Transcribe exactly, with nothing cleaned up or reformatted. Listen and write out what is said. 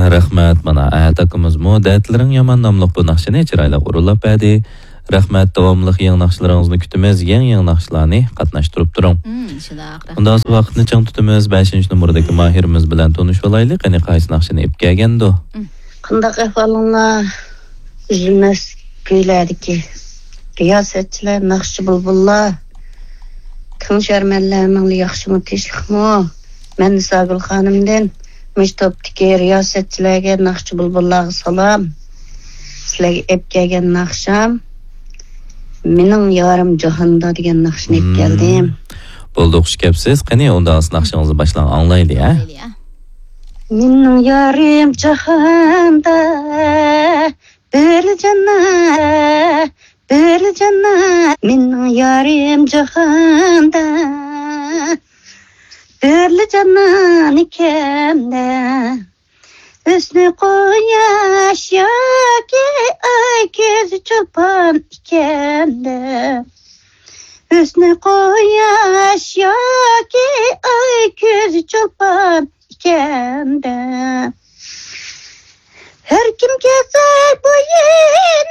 رەھمەت، مانا ئەتە ئاكىمىزمۇ دەردلىرىڭ يامان ناملىق بۇ ناخشىنى چىرايلىق ئورۇنلاپ بەردى. رەھمەت، داۋاملىق يېڭى ناخشىلىرىڭىزنى كۈتىمىز، يېڭى يېڭى ناخشىلارنى قاتناشتۇرۇپ تۇرۇڭ. مم، شۇنداق، رەھمەت. ئۇنداق ۋاقىتنى چىڭ تۇتىمىز، بەشىنچى نومۇردىكى ماھىرىمىز بىلەن تونۇشۇۋالايلى، قېنى قايسى ناخشىنى ئېلىپ كەلگەندۇ؟ مم. قانداق ئەھۋالىڭلار؟ ئۈزۈلمەس كۈيلەردىكى رىياسەتچىلەر، ناخشىچى بۇلبۇللار، كۆڭۈل شەرمەنلەرنىڭ ياخشىمۇ، تىنچلىقمۇ؟ مەن نىساگۈل خانىمدىن مۇشۇ توپتىكى رىياسەتچىلەرگە، ناخشىچى بۇلبۇللارغا سالام. سىلەرگە ئېلىپ كەلگەن ناخشام مېنىڭ يارىم جاھاندا دېگەن ناخشىنى ئېلىپ كەلدىم. بولدى، خۇش كەپسىز. قېنى، ئۇندا ناخشىڭىزنى باشلاڭ، ئاڭلايلى، ھە؟ ئاڭلايلى، ھە. مېنىڭ يارىم جاھاندا، بىر جانا، بىر جانا، مېنىڭ يارىم جاھاندا، بىر جانا ئىكەندە. ھۆسنى قۇياش ياكى ئاي كۆزى چولپان ئىكەندە. ھۆسنى قۇياش ياكى ئاي كۆزى چولپان ئىكەندە. ھەر كىم كەلسە بويىنى